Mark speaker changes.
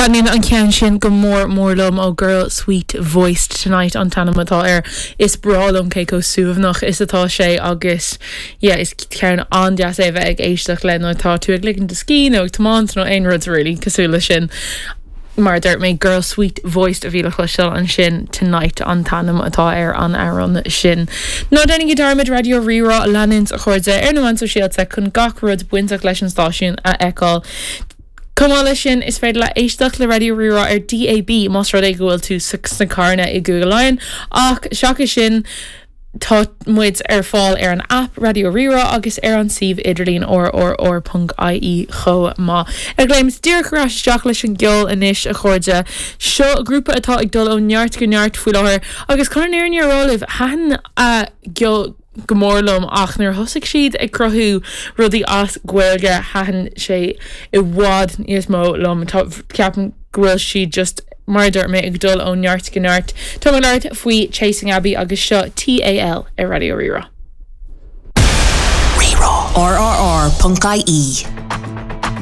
Speaker 1: Taitníonn an ceann sin go mór mór liom ó Girl Sweet Voiced Tonight an t-ainm atá air. Is breá liom cé chomh suaimhneach is atá sé agus yeah is ceann an-deas é a bheith ag éisteacht le nuair atá tú ag ligean do scíth nó ag tiomáint nó aon rud really cosúil leis sin. Mar a dúirt mé Girl Sweet Voiced a bhí le cloisteáil ansin Tonight an t-ainm atá ar an amhrán sin. Ná déanaigí dearmad Raidió Rí-Rá a leanúint a chairde ar na meáin sóisialta chun gach rud bainteach leis an stáisiún a fheiceáil. Chomh maith leis sin, is féidir leat éisteacht le Raidió Rí-Rá ar DAB más rud é go bhfuil tú sna carranna i gCúige Laighean, ach seachas sin, tá muid ar fáil ar an aip Raidió Rí-Rá agus ar an suíomh idirlín rrr.ie chomh maith. Ag léimt díreach ar ais isteach leis an gceol anois, a chairde. Seo grúpa atá ag dul ó neart go neart faoi láthair agus chun an fhírinne a rá libh, thaitin a gceol go mór liom ach nuair a thosaigh siad ag cruthú rudaí as Gaeilge thaitin sé i bhfad níos mó liom. Tá, ceapaim go bhfuil siad just, mar a dúirt mé, ag dul ó neart go neart. Tá mé ag labhairt faoi Chasing Abbey agus seo TAL ar Raidió Rí-Rá.
Speaker 2: Rí-Rá. RRR.ie.